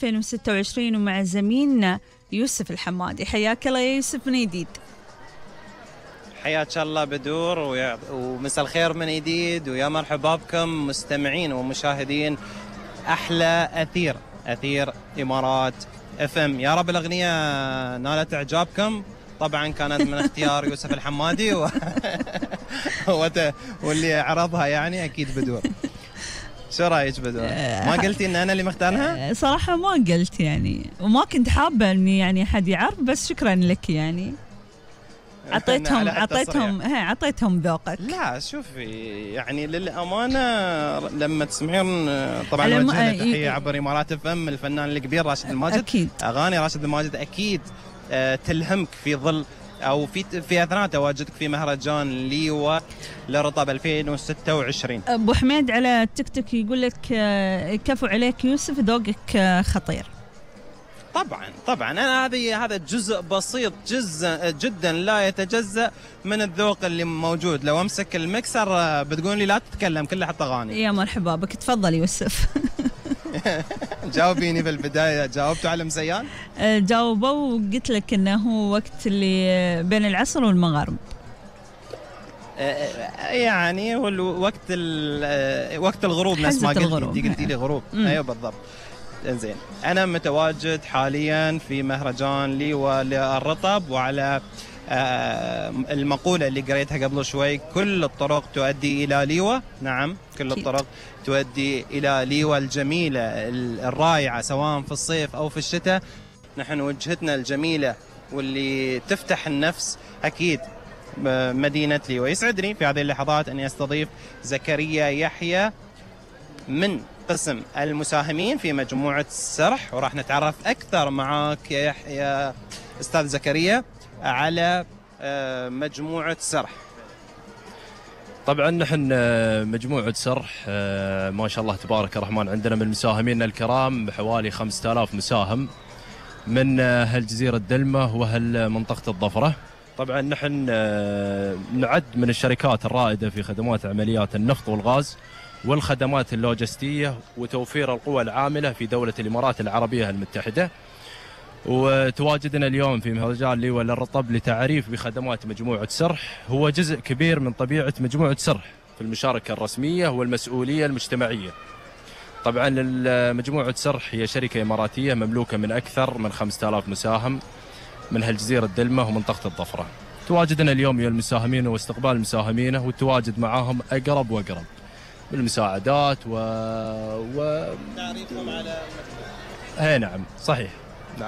2026 ومع زميلنا يوسف الحمادي. حياك الله يا يوسف من جديد. حياك الله بدور ومساء الخير من جديد، ويا مرحبا بكم مستمعين ومشاهدين أحلى أثير إمارات FM. يا رب الأغنية نالت إعجابكم. طبعا كانت من اختيار يوسف الحمادي واللي عرضها يعني أكيد بدور. شو رايك بدور؟ ما قلتي ان انا اللي مختارها؟ صراحه ما قلت يعني، وما كنت حابه اني يعني حد يعرف، بس شكرا لك يعني. عطيتهم ذوقك. لا شوفي يعني للامانه لما تسمعين طبعا وجه تحيه عبر امارات FM الفنان الكبير راشد الماجد. أكيد. اغاني راشد الماجد اكيد تلهمك في ظل او في اثناء تواجدك في مهرجان ليوا لرطب 2026. ابو حميد على التيك توك يقول لك كفو عليك يوسف، ذوقك خطير. طبعا انا هذا جزء بسيط جدا لا يتجزأ من الذوق اللي موجود. لو امسك المكسر بتقول لي لا تتكلم كله حتى اغاني. يا مرحبا بك، تفضل يوسف. جاوبيني في البداية. جاوبتوا على مزيان؟ جاوبوا وقلت لك انه هو وقت اللي بين العصر والمغرب. يعني هو وقت الغروب نفس ما قلتي لي غروب. ايوه بالضبط. زين، انا متواجد حاليا في مهرجان ليوا للرطب، وعلى المقولة اللي قريتها قبل شوي، كل الطرق تؤدي إلى ليوا. نعم، كل الطرق تؤدي إلى ليوا الجميلة الرائعة سواء في الصيف أو في الشتاء. نحن وجهتنا الجميلة واللي تفتح النفس أكيد مدينة ليوا. يسعدني في هذه اللحظات أن أستضيف زكريا يحيى من قسم المساهمين في مجموعة سرح، وراح نتعرف أكثر معاك يا أستاذ زكريا على مجموعة سرح. طبعا نحن مجموعة سرح ما شاء الله تبارك الرحمن عندنا من مساهمينا الكرام حوالي 5000 مساهم من هالجزيرة دلمة وهالمنطقة الضفرة. طبعا نحن نعد من الشركات الرائدة في خدمات عمليات النفط والغاز والخدمات اللوجستية وتوفير القوى العاملة في دولة الإمارات العربية المتحدة. وتواجدنا اليوم في مهرجان ليوا للرطب لتعريف بخدمات مجموعة سرح. هو جزء كبير من طبيعة مجموعة سرح في المشاركة الرسمية والمسؤولية المجتمعية. طبعا مجموعة سرح هي شركة إماراتية مملوكة من أكثر من 5000 مساهم من هالجزيرة دلمة ومنطقة الضفرة. تواجدنا اليوم يا المساهمين واستقبال مساهمينه والتواجد معاهم أقرب وأقرب بالمساعدات تعريفهم على نعم صحيح.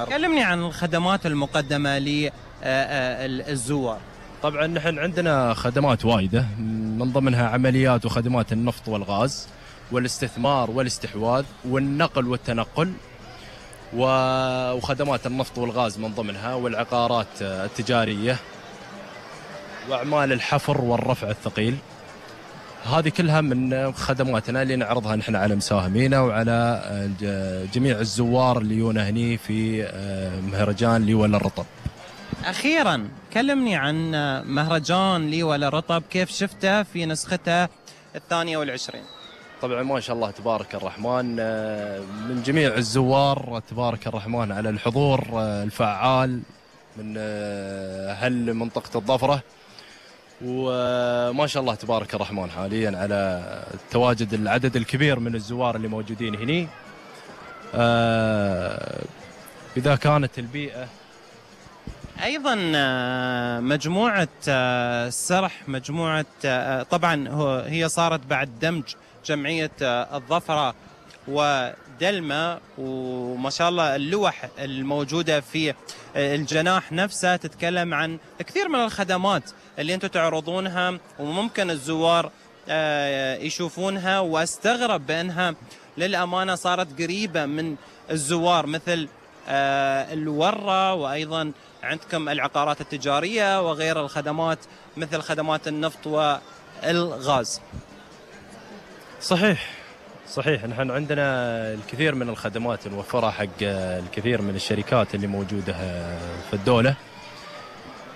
كلمني عن الخدمات المقدمة للزوار. طبعا نحن عندنا خدمات وايدة، من ضمنها عمليات وخدمات النفط والغاز والاستثمار والاستحواذ والنقل والتنقل، وخدمات النفط والغاز من ضمنها، والعقارات التجارية وأعمال الحفر والرفع الثقيل. هذه كلها من خدماتنا اللي نعرضها نحن على مساهمينا وعلى جميع الزوار اللي يونا هني في مهرجان ليوا للرطب. أخيرا كلمني عن مهرجان ليوا للرطب، كيف شفته في نسخته 22؟ طبعا ما شاء الله تبارك الرحمن من جميع الزوار تبارك الرحمن على الحضور الفعال من هالمنطقة الضفرة، وما شاء الله تبارك الرحمن حاليا على تواجد العدد الكبير من الزوار اللي موجودين هني. إذا كانت البيئة أيضا مجموعة سرح، مجموعة طبعا هي صارت بعد دمج جمعية الظفرة ودلمة، وما شاء الله اللوح الموجودة في الجناح نفسه تتكلم عن كثير من الخدمات اللي انتم تعرضونها وممكن الزوار يشوفونها، واستغرب بأنها للأمانة صارت قريبة من الزوار، مثل الورة، وأيضا عندكم العقارات التجارية وغير الخدمات مثل خدمات النفط والغاز. صحيح نحن عندنا الكثير من الخدمات نوفرها حق الكثير من الشركات اللي موجودة في الدولة.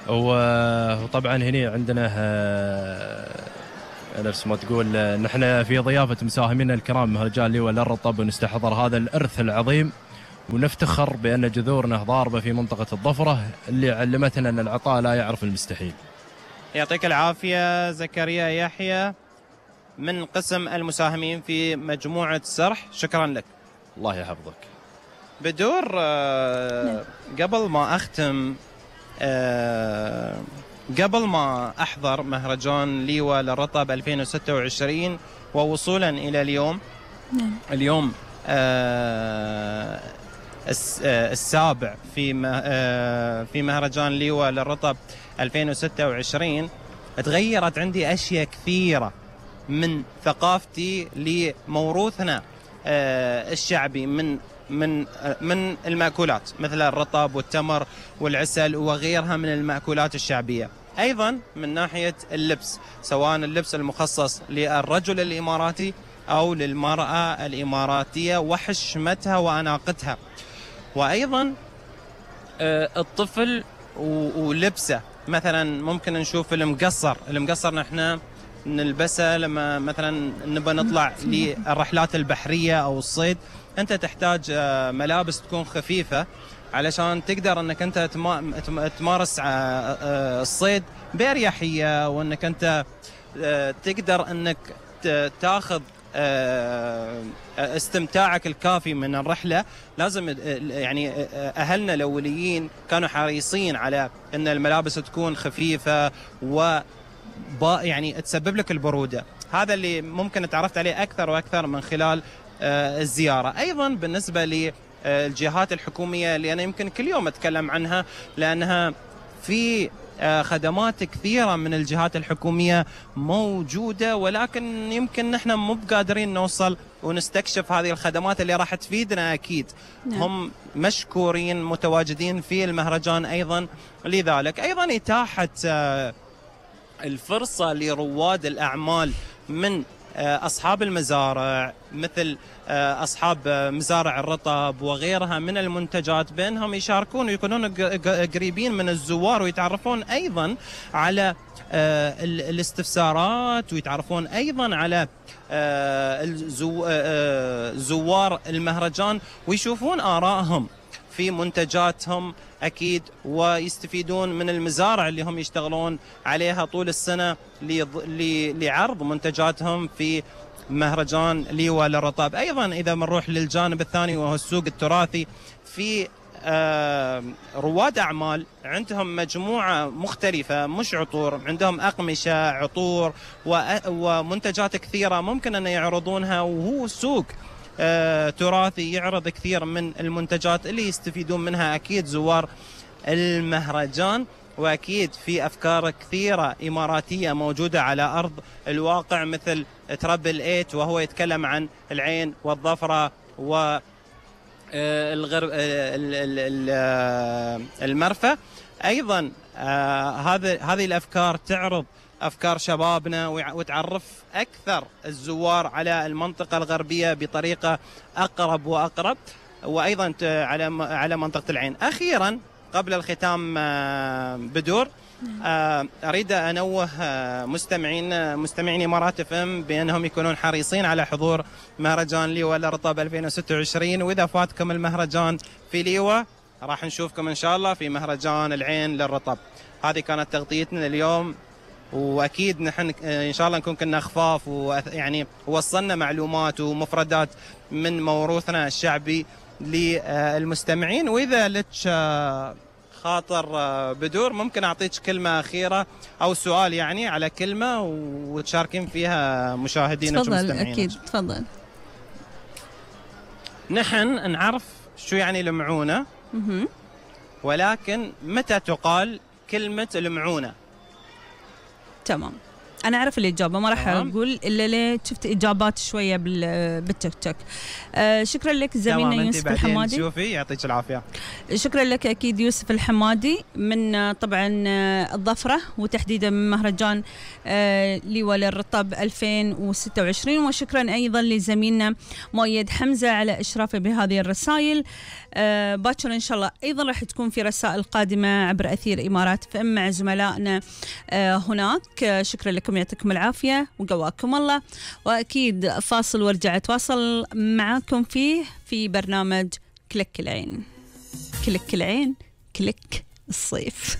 وطبعا هنا عندنا نفس ما تقول نحن في ضيافة مساهمينا الكرام مهرجان ليوا للرطب، ونستحضر هذا الإرث العظيم ونفتخر بأن جذورنا ضاربة في منطقة الظفرة اللي علمتنا أن العطاء لا يعرف المستحيل. يعطيك العافية زكريا يحيى من قسم المساهمين في مجموعة سرح، شكرا لك. الله يحفظك. بدور قبل ما أختم، قبل ما أحضر مهرجان ليوة للرطب 2026 ووصولا إلى اليوم السابع في مهرجان ليوة للرطب 2026، تغيرت عندي أشياء كثيرة من ثقافتي لموروثنا الشعبي من المأكولات مثل الرطب والتمر والعسل وغيرها من المأكولات الشعبية. أيضا من ناحية اللبس، سواء اللبس المخصص للرجل الإماراتي أو للمرأة الإماراتية وحشمتها وأناقتها، وأيضا الطفل ولبسه. مثلا ممكن نشوف المقصر نحن نلبسه لما مثلا نبى نطلع للرحلات البحرية أو الصيد. أنت تحتاج ملابس تكون خفيفة علشان تقدر أنك أنت تمارس الصيد بأريحية، وأنك أنت تقدر أنك تاخذ استمتاعك الكافي من الرحلة. لازم يعني أهلنا الأوليين كانوا حريصين على أن الملابس تكون خفيفة يعني تسبب لك البرودة. هذا اللي ممكن تعرفت عليه أكثر وأكثر من خلال الزيارة. أيضا بالنسبة للجهات الحكومية اللي أنا يمكن كل يوم أتكلم عنها، لأنها في خدمات كثيرة من الجهات الحكومية موجودة، ولكن يمكن نحن مو بقادرين نوصل ونستكشف هذه الخدمات اللي راح تفيدنا أكيد. هم مشكورين متواجدين في المهرجان أيضا. لذلك أيضا إتاحة الفرصة لرواد الأعمال من أصحاب المزارع مثل أصحاب مزارع الرطب وغيرها من المنتجات، بأنهم يشاركون ويكونون قريبين من الزوار ويتعرفون أيضا على الاستفسارات، ويتعرفون أيضا على زوار المهرجان ويشوفون آرائهم في منتجاتهم أكيد، ويستفيدون من المزارع اللي هم يشتغلون عليها طول السنة لعرض منتجاتهم في مهرجان ليوة للرطب. أيضا إذا بنروح للجانب الثاني وهو السوق التراثي، في رواد أعمال عندهم مجموعة مختلفة، مش عطور، عندهم أقمشة، عطور ومنتجات كثيرة ممكن أن يعرضونها، وهو سوق تراثي يعرض كثير من المنتجات اللي يستفيدون منها أكيد زوار المهرجان. وأكيد في أفكار كثيرة إماراتية موجودة على أرض الواقع مثل ترابل 8 وهو يتكلم عن العين والظفرة والغرب المرفأ. أيضا هذه الأفكار تعرض أفكار شبابنا وتعرف أكثر الزوار على المنطقة الغربية بطريقة أقرب وأقرب، وأيضا على منطقة العين. أخيرا قبل الختام بدور أريد أنوه مستمعين إمارات FM بأنهم يكونون حريصين على حضور مهرجان ليوة للرطب 2026. وإذا فاتكم المهرجان في ليوة راح نشوفكم إن شاء الله في مهرجان العين للرطب. هذه كانت تغطيتنا اليوم، وأكيد نحن إن شاء الله نكون كنا خفاف ويعني وصلنا معلومات ومفردات من موروثنا الشعبي للمستمعين. وإذا لك خاطر بدور ممكن أعطيك كلمة أخيرة أو سؤال يعني على كلمة وتشاركين فيها مشاهدينا ومستمعينا. أكيد تفضل. نحن نعرف شو يعني المعونة، ولكن متى تقال كلمة المعونة؟ تمام، أنا أعرف الإجابة، ما راح أقول إلا ليه شفت إجابات شوية بالتيك توك. شكرا لك زميلنا يوسف الحمادي. شوفي يعطيك العافية. شكرا لك أكيد يوسف الحمادي من طبعا الظفرة، وتحديدا من مهرجان ليوة للرطب 2026. وشكرا أيضا لزميلنا مؤيد حمزة على إشرافه بهذه الرسائل. باكر إن شاء الله أيضا راح تكون في رسائل قادمة عبر أثير إمارات FM مع زملائنا هناك. شكرا لكم، يعطيكم العافية وقواكم الله. وأكيد فاصل وارجع أتواصل معاكم في برنامج كلك العين، كلك العين، كلك الصيف.